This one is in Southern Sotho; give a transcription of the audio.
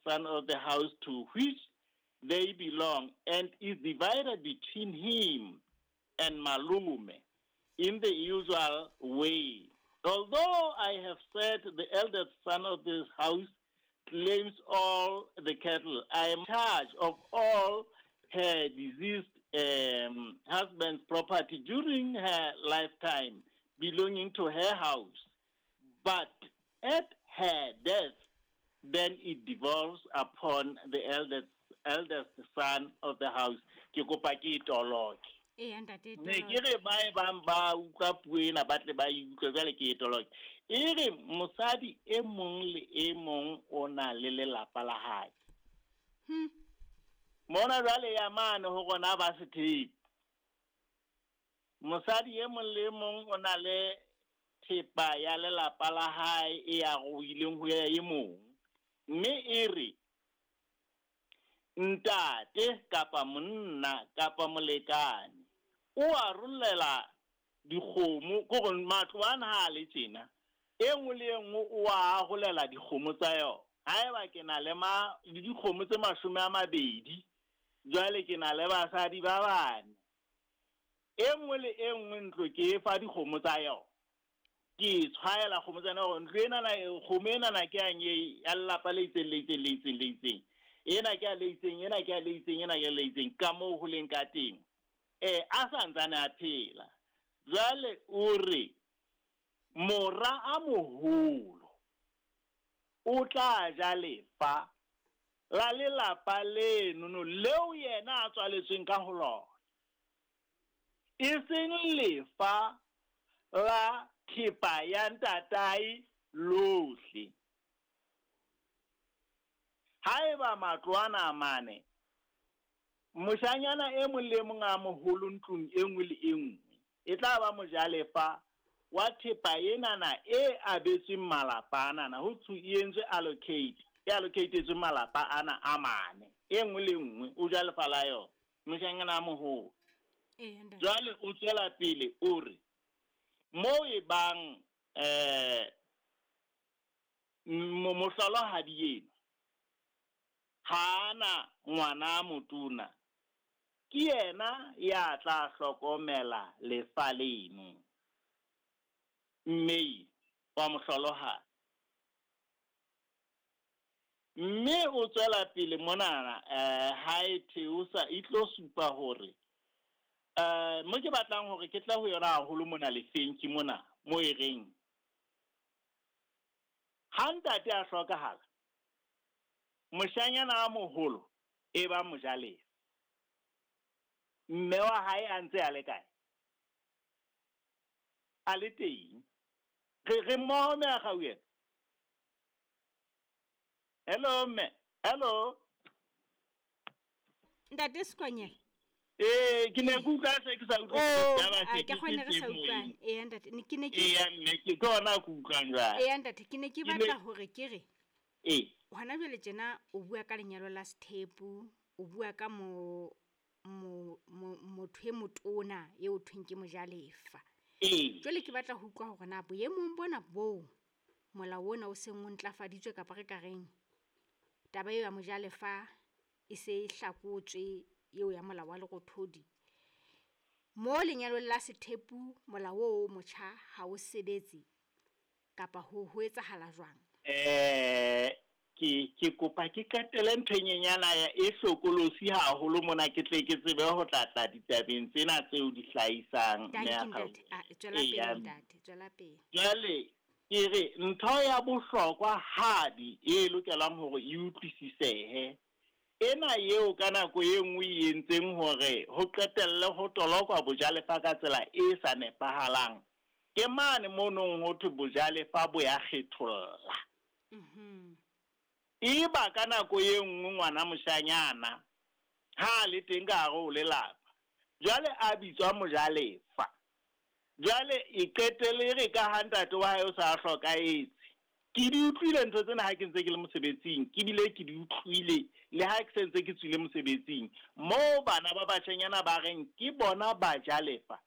son of the house to which they belong and is divided between him and malume in the usual way. Although I have said the eldest son of this house claims all the cattle, I am in charge of all her deceased um, husband's property during her lifetime belonging to her house. But at her death, then it devolves upon the eldest, eldest son of the house. Ke kopa ke e toloke. Eya ntate, e Ne ke toloke. re ba e bang ba utlwa puo ena ba tle ba e utlwe jwale ke e toloke. E re mosadi e mong le e mong o na le lelapa la hae. Mona jwale ya mane ho rona ba sethepu. Mosadi e mong le e mong o na le thepa ya lelapa la hae e a ruileng ho ya e mong. Mme e re ntate kapa monna kapa molekane o arollela dikgomo, ke hore matlo ana ha a le tjena, e nngwe le e nngwe o a arolela dikgomo tsa yona. Haeba ke na le ma le dikgomo tse 20, jwale ke na le basadi ba bane. E nngwe le e nngwe ntlo ke e fa dikgomo tsa yona. Ke e tshwaela kgomo tsa yona hore ntlo enana, kgomo enana ke yang e ya lelapa le itseng le itseng le itseng le itseng. Ena ke ya le itseng, ena ke ya le itseng, ena ke ya le itseng. Ka moo ho leng ka teng. Eh, a sa ntsane a phela. Jwale o re mora a moholo o tla ja lefa la lelapa lenono leo yena a tswaletsweng ka ho lona, e seng lefa la thepa ya ntatae lohle. Haeba matlo ana a mane, moshanyana e mong le e mong a moholo ntlong e nngwe le e nngwe e tla ba mojalefa wa thepa enana e abetsweng malapa anana, ho thwe e entswe allocate, e allocatetswe malapa ana a mane, e nngwe le nngwe o ja lefa la yona, moshanyana a moholo. Eya ntate. Jwale o tswela pele o re, moo e bang eh mohlolohadi enwa ha a na ngwana a motona, ke yena ya tla hlokomela lefa leno. Mme wa mohlolohadi. Mme o tswela pele monana eh ha e theosa e tlo supa hore eh mo ke batlang hore ke tle ho yona haholo mona lefeng ke mona mo e reng ha ntate a hlokahala, moshanyana a moholo e ba mojalefa. Mme wa hae a ntse a le kae? A le teng. Re re mmoho mme a Gauela. Hello mme. Hello. Ntate Sekonyela. Ee, ke ne ke utlwa se ke sa utlwe Oh, taba a se ke ke gone re se sa teng utlwane. moyeng. Eya ntate, ne ke ne ke Eya mme ke ke hona ke utlwang jwale. Eya ntate, ke ne ke Ke ne batla hore ke re Ee. hona jwale tjena o bua ka lenyalo la sethepu, o bua ka mo mo mo motho e motona eo thweng ke mojalefa. Ee. Jwale ke batla ho utlwa hore na boemong bona boo molao ona o seng o ntlafaditswe kapa re ka reng taba eo ya mojalefa e se e hlakotswe eo ya molao wa Lerothodi. Mo lenyalong la sethepu molao oo o motjha ha o sebetse kapa ho ho etsahala jwang? Eh ke ke kopa ke qetele ntho e nyenyana ya e hlokolosi haholo mona ke tle ke tsebe ho tla tla ditabeng tsena tseo di hlahisang mme Tanki a ntate, Gauela. a tswela pele Eya mme. ntate, tswela pele. Jwale ke re ntho ya bohlokwa hadi e lokelang hore e utlwisisehe, ena eo ka nako e nngwe e entseng hore ho qetelle ho tolokwa bojalefa ka tsela e sa nepahalang, ke mane monong ho thwe bojalefa bo ya kgetholla. Eba ka nako e nngwe ngwana moshanyana ha a le teng ka hare ho lelapa, jwale a bitswa mojalefa. Jwale e qetelle e re ka ha ntate wa hae o sa hlokahetse. Ke di utlwile ntho tsena ha ke ntse ke le mosebetsing, ke bile ke di utlwile le ha ke sentse ke tswile mosebetsing. Moo bana ba bashanyana ba reng ke bona bajalefa.